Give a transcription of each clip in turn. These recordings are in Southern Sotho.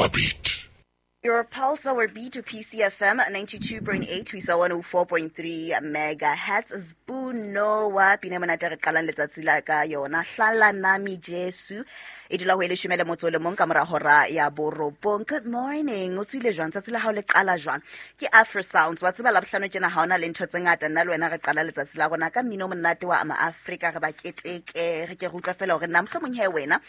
our beat. Your Pulse, our B2 PCFM 92.8 ho isa 104.3 megahertz. Sbunoa pina monate re qalang letsatsi la ka yona. Hlala nami Jesu. E dula ho e leshome le motso le mong ka mora hora ya borobong. Good morning. O tswile jwang? Tsatsi la hao le qala jwang? Ke Afro Sounds. Wa tseba Labohlano tjena ha hona le ntho tse ngata. Nna le wena re qala letsatsi la rona ka mmino o monate wa Maafrika, re ba keteke, re ke re utlwa fela hore na mohlomong he wena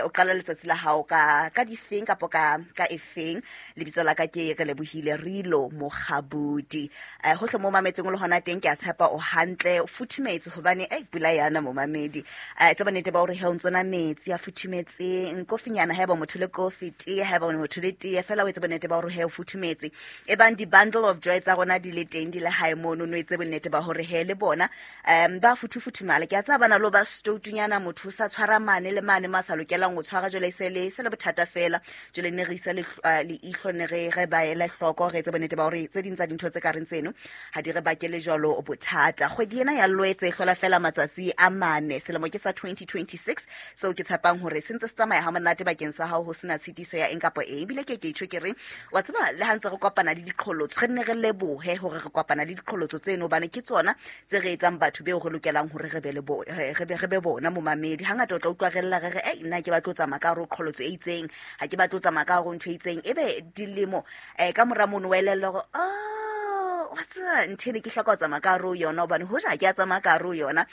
o qala letsatsi la hao ka difeng kapo ka efeng. Lebitso la ka ke re lebohile Rilo Mokgabudi. Hohle mo mametseng o le hona teng, ke a tshepa o hantle, o futhumetse hobane pula yana momamedi. Tseba nnete ba hore he o ntso nwa metsi a futhumetseng, kofinyana haeba motho le kofi, tee haeba motho le tee, fela o etse bonnete ba hore he o futhumetse. E bang di-bundle of joy tsa rona di le teng, di le hae mono, no etse bonnete ba hore he le bona ba futhufuthumala. Ke a tseba bana lo ba stoutunyana, motho o sa tshwara mane le mane ma sa lokelang ho tshwara, jwale e se le bothata fela. Jwale ne re isa leihlo, ne re ba ele hloko, re etse bonnete ba hore tse ding tsa dintho tse ka reng tseno ha di re bakele jwalo bothata. Kgwedi ena ya Loetse e hlola fela matsatsi a mane, selemo ke sa 2026, seo ke tshepang hore se ntse se tsamaya ha monate bakeng sa hao, ho sena tshitiso ya eng kapa eng. Ebile ke tjho ke re, wa tseba, le ha ntse re kopana le diqholotso, re nne re lebohe hore re kopana le diqholotso tseno, hobane ke tsona tse re etsang batho beo re lokelang hore re be le bo re be bona momamedi. Hangata o tla utlwa re lla re re, ei, nna ke batlo tsamaya ka hare ho qholotso e itseng, ha ke batlo tsamaya ka hare ho ntho e itseng. Ebe dilemo ka mora mono wa elellwa hore, oh, wa tseba, ntho ene ke hloka ho tsamaya ka hare ho yona, hobane hoja ke a tsamaya ka hare ho yona,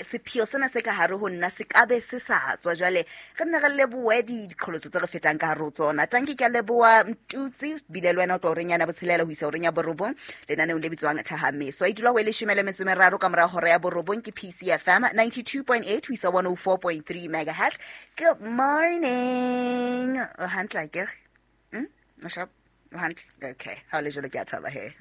sepheo sena se ka hare ho nna se ka be se sa tswa. Jwale re nne re lebohe diqholotso tse re fetang ka hare ho tsona. Tanki, ke a leboha Mtutsi, bile le wena o tlo horeng yana botshelela ho isa horeng ya borobong lenaneong le bitswang Thahameso. E dula ho e leshome le metso e meraro ka mora hora ya borobong. Ke PCFM 92.8 ho isa 104.3 megahertz. Good morning. O hantle akere? O sharp? O hantle? Okay, ha o le jwalo ke a thaba he.